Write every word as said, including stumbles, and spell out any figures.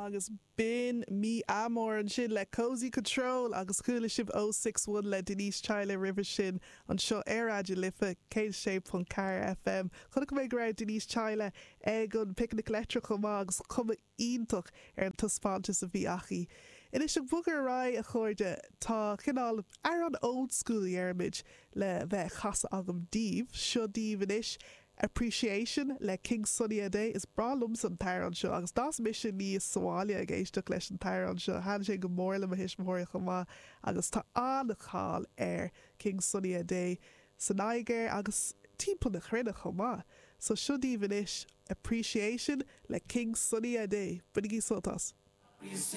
Agus b'in Mi Amor ansin le Cozy Control agus chuala sibh O Six One le Denise Chaila roimhe sin anseo ar Raidió na Life céad sé ponc ceathair FM. Chonaic mé go raibh Denise Chaila ag an Picnic Leictreach chomh maith agus cuma iontach ar an taispeántas a bhí aici. Anois ag bogadh ar aghaidh a chairde tá cineál amhrán old school dhéarfainn le bheith á chasadh agam daoibh, seo daoibh anois Appreciation le King Sunny Adé is breá liomsa an t-amhrán seo agus d'fhás mise aníos sa bhaile ag éisteacht leis an t-amhrán seo thaitin sé go mór le mo thuismitheoirí chomh maith agus tá an-cháil ar King Sunny Adé sa Nigéir agus timpeall na cruinne chomh maith. So seo daoibh anois Appreciation le King Sunny Adé, Bainigí sult as.